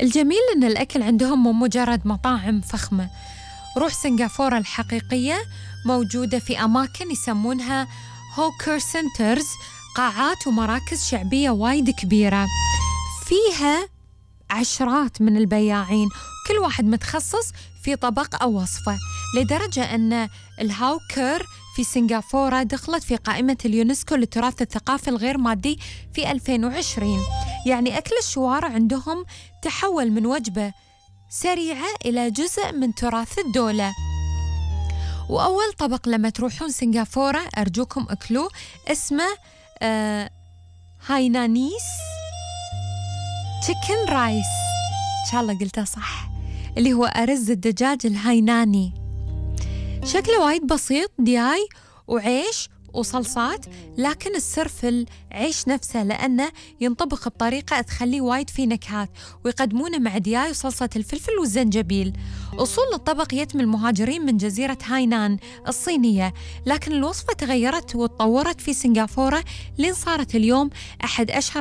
الجميل إن الأكل عندهم مو مجرد مطاعم فخمة. روح سنغافورة الحقيقية موجودة في أماكن يسمونها هوكر سنترز، قاعات ومراكز شعبية وايد كبيرة فيها عشرات من البياعين، كل واحد متخصص في طبق أو وصفة، لدرجة أن الهوكر في سنغافورة دخلت في قائمة اليونسكو للتراث الثقافي الغير مادي في 2020. يعني أكل الشوارع عندهم تحول من وجبة سريعة إلى جزء من تراث الدولة. وأول طبق لما تروحون سنغافورة أرجوكم أكلوه، اسمه هاينانيس تشيكن رايس، إن شاء الله قلتها صح، اللي هو أرز الدجاج الهايناني. شكله وايد بسيط، دياي وعيش وصلصات، لكن السر في العيش نفسه، لأنه ينطبخ بطريقة تخليه وايد فيه نكهات، ويقدمونه مع دياي وصلصة الفلفل والزنجبيل. أصول الطبق يتم المهاجرين من جزيرة هاينان الصينية، لكن الوصفة تغيرت وتطورت في سنغافورة لين صارت اليوم أحد أشهر